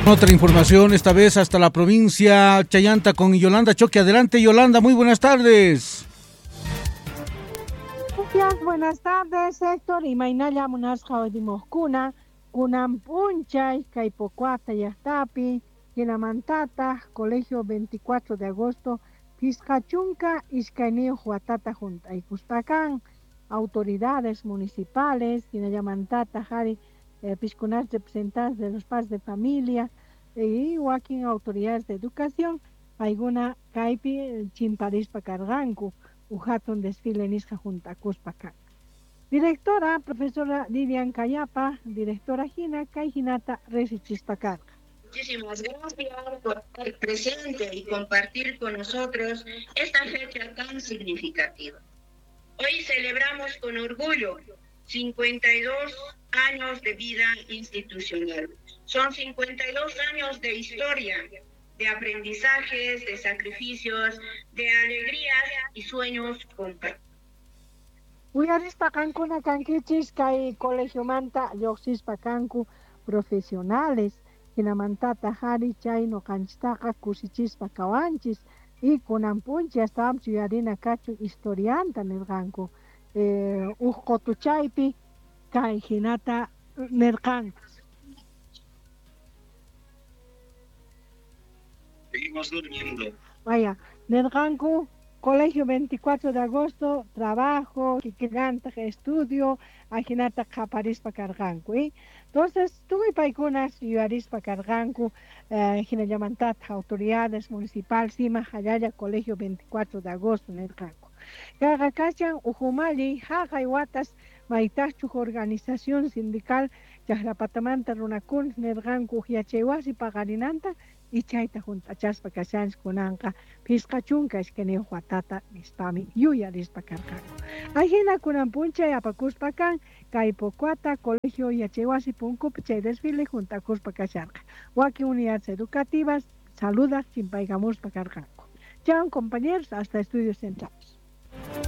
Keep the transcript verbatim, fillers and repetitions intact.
Otra información, esta vez hasta la provincia Chayanta con Yolanda Choque. Adelante, Yolanda, muy buenas tardes. Gracias, buenas tardes, Héctor. Imaynalla munasqa watimojkuna, kunan p'unchay kay Pocoata llaqtapi, hinamantataq Colegio veinticuatro de agosto, phisqa chunka iskayniyuq watata junt'aykuspa kan, autoridades municipales, hinallamantataq ari eh, piskunas representantes de los padres de familia y wakin autoridades de educación, paykuna kaypi chimparispa karqanku, uj hatun desfile nisqa juntakuspa kan. Directora, profesora Lilian Cayapa, directora hina, kay hinata riqsichispa karqa. Muchísimas gracias por estar presente y compartir con nosotros esta fecha tan significativa. Hoy celebramos con orgullo cincuenta y dos años de vida institucional. Son cincuenta y dos años de historia, de aprendizajes, de sacrificios, de alegrías y sueños compartidos. Uyarispa qankuna kankichis kay colegiomanta lluqsispa kanku profesionales, hinamantata hari chay noqanchistaqa kusichispa kawanchis y kunan p'unchay astawanpis yuyarina kachun historianta nirqanku. Eh, uj qotuchaypi kay hinata nirqanku. Seguimos durmiendo. Vaya, nirqanku Colegio veinticuatro de agosto, trabajo, kikillantaq estudio, ajinata qhaparispa karqanku, ¿eh? Entonces, tukuy paykunas yuyarispa karqanku, eh, hinallamantataq autoridades municipal, sima jallalla Colegio veinticuatro de agosto nirqanku. Kayqa kachan ujumalli jaqay watas maytaqchuq organización sindical chaqrapatamanta runakuna nirqanku yachaywasi paqarinanta y chayta junt'achaspa kashanchis kunanqa phisqa chunka iskayniyuq watata nispami yuyarispa karqanku. Ajina kunan p'unchay apakuspa kan kay Pocoata Colegio Yachaywasi punkupi chay desfile junt'akuspa kasharqa. Wakin unidades educativas saludaq chimpaykamuspa karqanku. Chao compañeros, hasta estudios centrales.